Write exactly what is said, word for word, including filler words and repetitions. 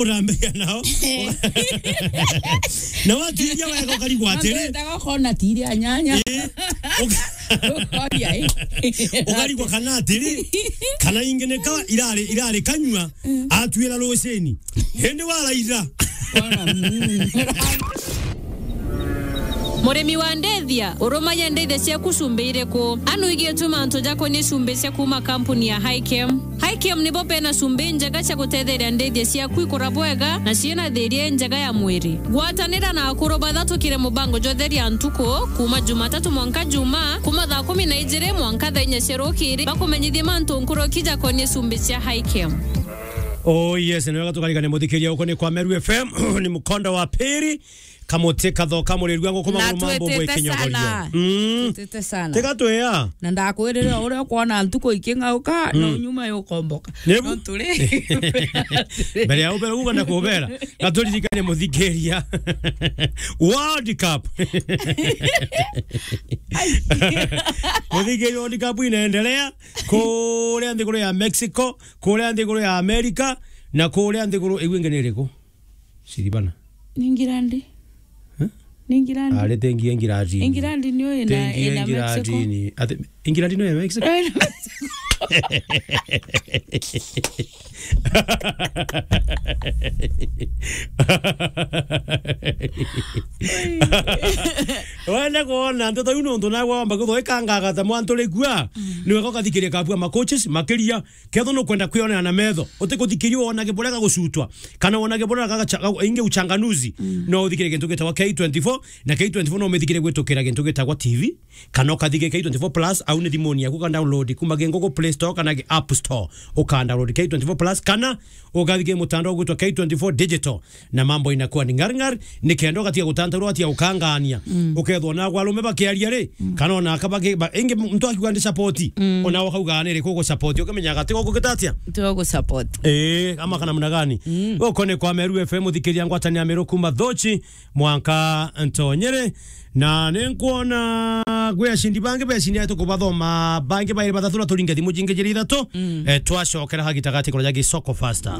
uramenya nao. Na watiria wega ukarigwa atiri. Ndotaga kona tiri a nyanya. Eh, uka- Ukoria, eh. Ukarigwa kana atiri, kana ingi ni ka irari, irari kanyua, atwira rucini. Hindi waraitha. Kona, mm. Murimi wa ndithia, urumagia ndithia ciaku cumbi iriku? Anu igitwe mantu jakonie cumbi cia kuma kampuni ya Hikem. Hikem nibo bena cumbi njega cia gutetheria ndithia ciaku ikura bwega na ciina thiria njega ya mwiri. Gwatanira na akuru bathatukire mubango jwa Theria Ntuku, kuma Jumatatu mwanka Juma, kuma thaa kumi na ijiri mwanka thaa inya cia rukiri, bakumenyithie mantu nkuruki jakonie cumbi cia Hikem. Oh yes, ni wega tukarikane muthikiria uko ni kwa Meru F M, ni mukondo wa piri. Kamuti kathoka murirua nguku. Na maguru mambo twitite bwe kinyogoria sana. Mm. Twitite sana. Tiga twea. Na ndakwirire uria ukwona ntuku iking'auka, no nyuma yukomboka. Nebu? No turi. Mbere ya ubere uga na kubera, gaturirikane muthikiria. World Cup. Muthikiria, World Cup inaendelea kuria nthiguru ya Mexico, kuria nthiguru ya America, na kuria nthiguru iu ingi ni iriku? Siribana. Ni England. Eh? Ni England. Ari tengi England. England niyo ina, tengi ina England Mexico. Ati, England niyo ya Mexico? Eh, ina Mexico. Wenda kuona nteto iu nontu nawe wamba kuthooikangagata mwantu rikua, mm, ni wega ukathikiria kabua ma coaches makiria. Ketho nukwenda kwionera na metho, utikuthikiria wonage buria gagucutwa, kana wonage buria gagacha-, gagu-, ingi uchanganuzi, mm, no uthikirie gintu gitagwa K twenty-four, na K twenty-four no umithikirie gwitukira gintu gitagwa T V, kana ukathikiria K twenty-four Plus, au ni thimuni yaku, uka download kuma gi Google Play Store kana gi App Store, uka download K twenty-four Plus, kana ukathikiria mutandao gwitwa K twenty-four Digital. Na mambo inakuwa ni ngari ngari, ni kenda ugatiga gutantaurwa, ugatiga gukangania. Mm. Ukethwa na arume bakiaria ri, mm, kana ona aka baki-, ba-, ingi muntu akiuga ndi support, mm, ona ukauga ni ri kugu support, ukimenyaga ti guku gitatia? Ti guku support. Eh, ama kana namna gani? Mm. Guku ni kwa Meru F M, uthikiria ngwatanio ya Meru kuma Thochi mwanka Ntonyere. Na ni nkwona gwi acindi bangi becindi atu kubathoma, bangi bairi bathatu na turinge thimu jingi jiri ithatu. Mm. Eh, twacokera ha gitagati kuria ja Gisoko Faster.